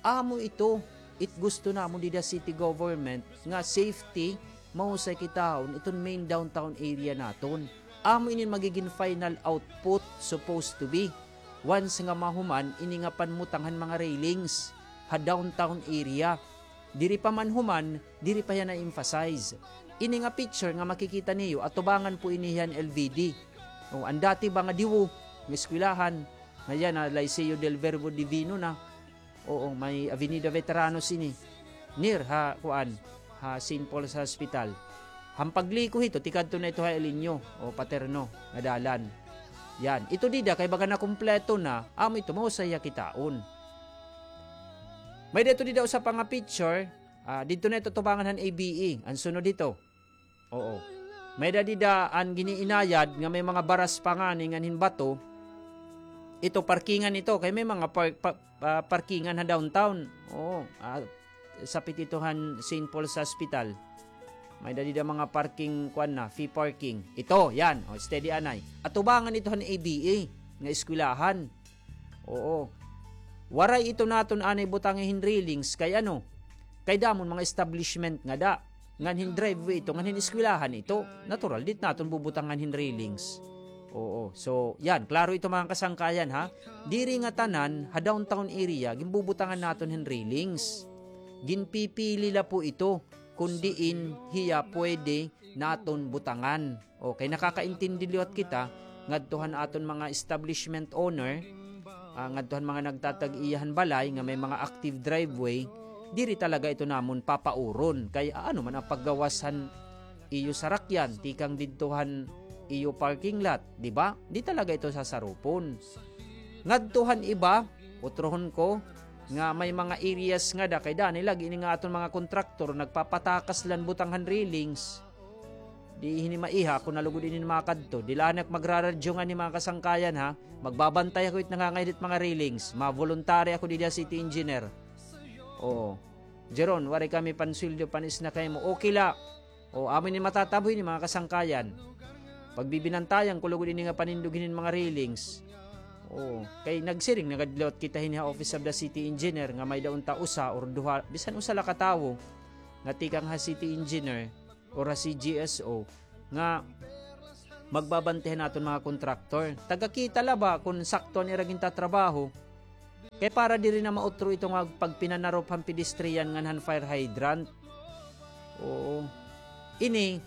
Amo ito. It gusto namon dida city government nga safety, mahusay kitaon iton main downtown area naton. Amo ini magigin final output supposed to be. Once nga mahuman ini nga panmutang han mga railings ha downtown area. Diri pa man human, diri pa hiya na-emphasize. Ini nga picture nga makikita niyo, atubangan po ini hiya han L V D. O, an dati ba nga diwo nga eskwelahan, nga yana, Liceo del Verbo Divino na. Oo, may Avenida Veteranos ini. Near ha, kuan, ha Saint Paul's Hospital. Han pagliko hito, tikadto na ito ha Elino o Paterno nga dalan. Yan. Ito dida, kay baga nakumpleto na, amo ito, mahusay hiya kitaon. May-ada ito dida usa pa nga picture, ah, didto na ito tubangan han A B E. An sunod hito. Oo. May-ada dida an giniinayad nga may mga baras pa ngani ngan hin bato. Ito, parkingan ito. Kay may mga par-, pa-, ah, parkingan ha downtown. Oo. Ah, sapit ito han Saint Paul's Hospital. May-ada dida mga parking, kuan na, fee parking. Ito, yan. O, steady anay. Atubangan ito han A B E nga eskwelahan. Oo. Waray ito naton anay butangi hin railings kay ano? Kay damo an mga establishment ngada. Ngan hin driveway ito, ngan hin eskwelahan ito. Natural, diri naton bubutangan hin railings. Oo. So, yan. Klaro ito, mga kasangkayan, ha? Diri ngatanan, ha downtown area, ginbubutangan naton hin railings. Ginpipili la po ito kon diin hiya pwede naton butangan. O, kay nakakaintindi liwat kita, ngadto han aton mga establishment owner, ah, ngadto han mga nagtatag-iya han balay nga may mga active driveway, diri talaga ito namon papauron. Kay, ah, ano man an paggawas han iyo sarakyan, tikang didto han iyo parking lot, di ba? Di talaga ito sasarupon. Ngadto han iba, utrohon ko, nga may mga areas ngada kay danay lagi ini nga aton mga kontraktor nagpapatakas la hin butang han railings. Di hini maiha, ako na lugod ini makadto. Di la anay ak magraradyo ngani, mga kasangkayan, ha. Magbabantay ako hit nangangayad hit mga railings. Ma-voluntary ako didi ha city engineer. Oo. Jeron, waray kami pansweldo, pan-snack ha imo. Okay la. O, amo ini matatabo hini, mga kasangkayan. Pagbibinantayan ko lugod ini nga panindog hinin mga railings. O, kay nagsiring na gad liwat kita hini ha Office of the City Engineer nga may-ada unta usa or duha, bisan usa la ka tawo nga tikang ha city engineer or ha C G S O, nga magbabantay han aton mga kontraktor. Taga kita la ba kon sakto an ira gintatrabaho? Kay para diri na mautro ito nga pagpinanarop han pedestrian ngan han fire hydrant. Oo. Ini,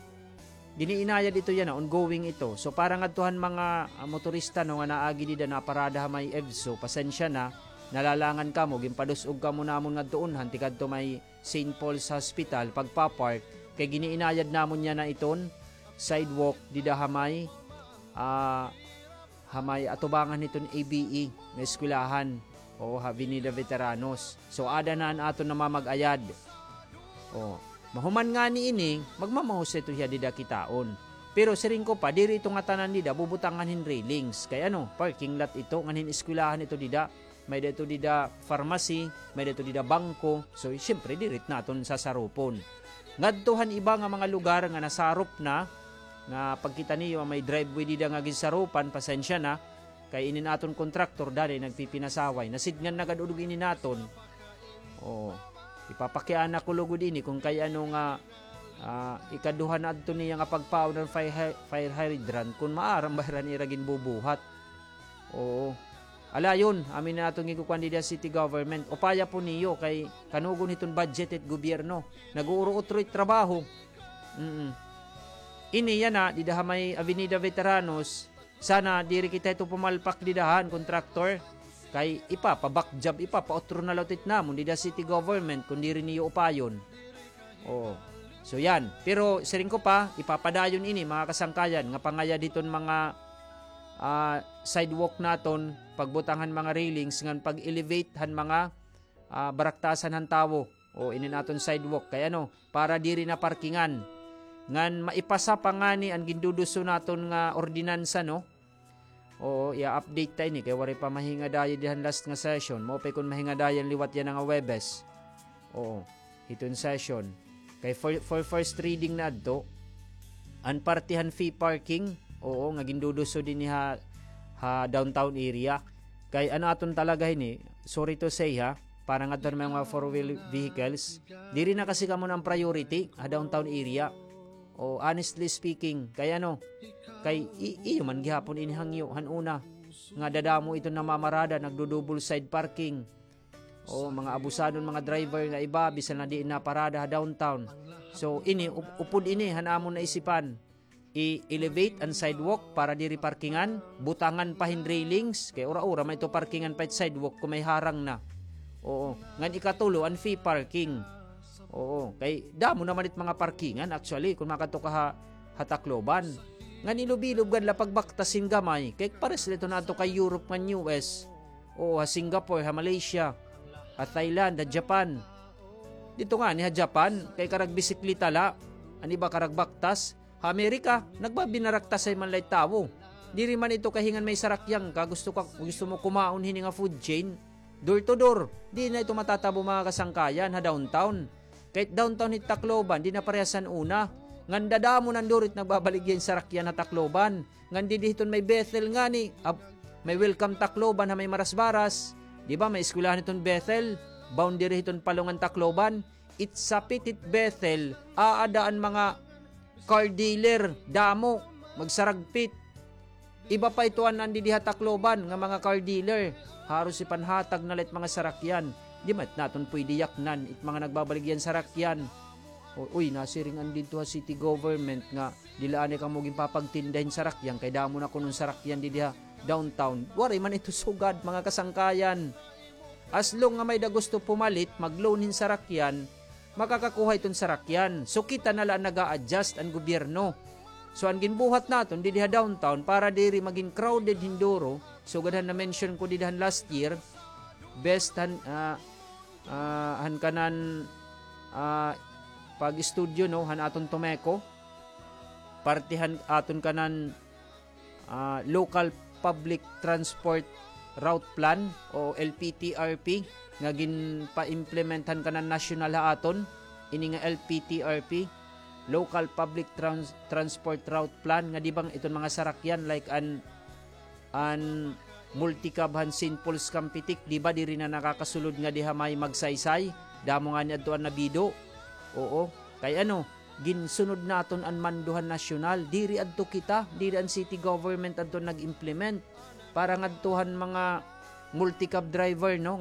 giniinayad ito yana, ongoing ito. So, para ngadto han mga, ah, motorista, no, nga naagi dida, naparada ha may EVSO, pasensya na, nalalangan kamo, ginpadus-og kamo namon ngadto unhan, tikadto may Saint Paul's Hospital, pagpapark, kay giniinayad namon yana iton sidewalk dida ha may, ah, ha may atubangan hiton A B E nga eskwelahan, o ha Avenida Veteranos. So, ada na an aton namamag-ayad. O, mahuman ngani ini, magmamahos ito hiya dida kitaon. Pero siring ko pa, diri ito ngatanan dida bubutangan hin railings. Kay ano, parking lot ito, ngan hin eskwelahan ito dida. May-ada ito dida pharmacy, may-ada ito dida bangko. So, siyempre, diri it naton sasarupon. Ngadto han iba nga mga lugar nga nasarop na, nga pagkita niyo, may driveway dida nga ginsarupan, pasensya na, kay inin aton kontraktor, danay nagpipinasaway. Nasidngan na gad udog ini naton. Oo. Ipapakiana ko lugod ini kung kay ano nga, ah, ikaduha na adto niya nga pagpaon han fire hy-, fire hydrant, kung maaram ba hira an ira ginbubuhat. Oo. Ala, yun, amin na aton gikukuan dida city government. Upaya po niyo kay kanugon hiton budget it gobyerno. Nag-uuro-utro it trabaho. Mm. Ini yana, dida ha may Avenida Veteranos, sana diri kita ito pumalpak dida han kontraktor. Kay ipapa-back job, ipapautro na la it namon dida city government kung diri niyo upayon. Oo. So, yan. Pero siring ko pa, ipapadayon ini, mga kasangkayan, nga pangayad hiton mga, ah, sidewalk naton, pagbutang han mga railings, ngan pag-elevate han mga, ah, baraktasan han tawo. O, inin aton sidewalk. Kay ano, para diri na parkingan. Ngan maipasa pa ngani an ginduduso naton nga ordinansa, no? Oo, i-update ta ini kay waray pa mahingadayon dida han last nga session. Maupay kon mahingadayon liwat yana nga Huwebes. Oo, hiton session. Kay for, for first reading na adto, an parte han fee parking, oo, nga ginduduso dinhi ha, ha downtown area. Kay ano aton talaga hini, sorry to say ha, para ngadto han mga four-wheel vehicles, diri na kasi kamo na an priority ha downtown area. O, honestly speaking, kay ano, kay i-, iyo man gihapon ini hangyo han una, nga dadamo iton namamarada, nagdo-double side parking. O, mga abusadon, mga driver nga iba, bisan na diin naparada ha downtown. So, ini, up-, upod ini han amon naisipan. I-elevate an sidewalk para diri parkingan, butangan pa hin railings, kay ura-ura man ito parkingan pa it sidewalk kon may harang na. Oo, ngan ikatulo, an fee parking. Oo, kay damo naman it mga parkingan, actually, kon makadto ka ha, ha Tacloban. Ngan ilob-ilob gad la pagbaktas hin gamay, kay pares la ito na adto kay Europe ngan U S. Oo, ha Singapore, ha Malaysia, ha Thailand, ha Japan. Didto ngani ha Japan, kay karag bisikleta la, an iba karag baktas. Ha Amerika, nagbabinaraktasay man la it tawo. Diri man ito kay hingan may sarakyan ka, gusto ka, gusto mo kumaon hini nga food chain, door to door. Di na ito matatabo, mga kasangkayan, ha downtown. Kay it downtown hit Tacloban, di na parehas han una. Ngan dadamo na an duro it nagbabaligya hin sarakyan ha Tacloban. Ngan didi hiton may Bethel ngani, ab-, may Welcome Tacloban ha may Marasbaras. Di ba, may eskwelahan hiton Bethel, boundary hiton Palo ngan Tacloban. It sapit hit Bethel, aada an mga car dealer, damo, magsaragpit. Iba pa ito an, an didi ha Tacloban nga mga car dealer. Haros ipanhatag na la it mga sarakyan. Di man it naton pwede yaknan it mga nagbabaligya hin sarakyan. O, uy, nasiring an didto ha city government nga diri la anay kamo ginpapagtinda hin sarakyan kay damo na kuno an sarakyan didi ha downtown. Waray man ito sugad, mga kasangkayan. As long nga may-ada gusto pumalit, mag-loan hin sarakyan, makakakuha hiton sarakyan. So, kita na la an nag-a-adjust, an gobyerno. So, an ginbuhat naton didi ha downtown para diri magin crowded hin duro, sugad han na-mention ko didi han last year, best han, ah, ah, han kanan, ah, pag-estudyo, no, han aton TOMECO, parte han aton kanan ah, Local Public Transport Route Plan o L P T R P nga ginpa-implement han kanan nasyonal ha aton, ini nga L P T R P, Local Public Trans-, Transport Route Plan, nga di ba iton mga sarakyan like an, an multicab han Saint Paul's Campetic, di ba diri na nakakasulod ngadi ha may Magsaysay, damo ngani adto an nabido. Oo, kay ano, ginsunod naton an mando han nasyonal. Diri adto kita, diri an city government adto nag-implement. Para ngadto han mga multicab driver, no?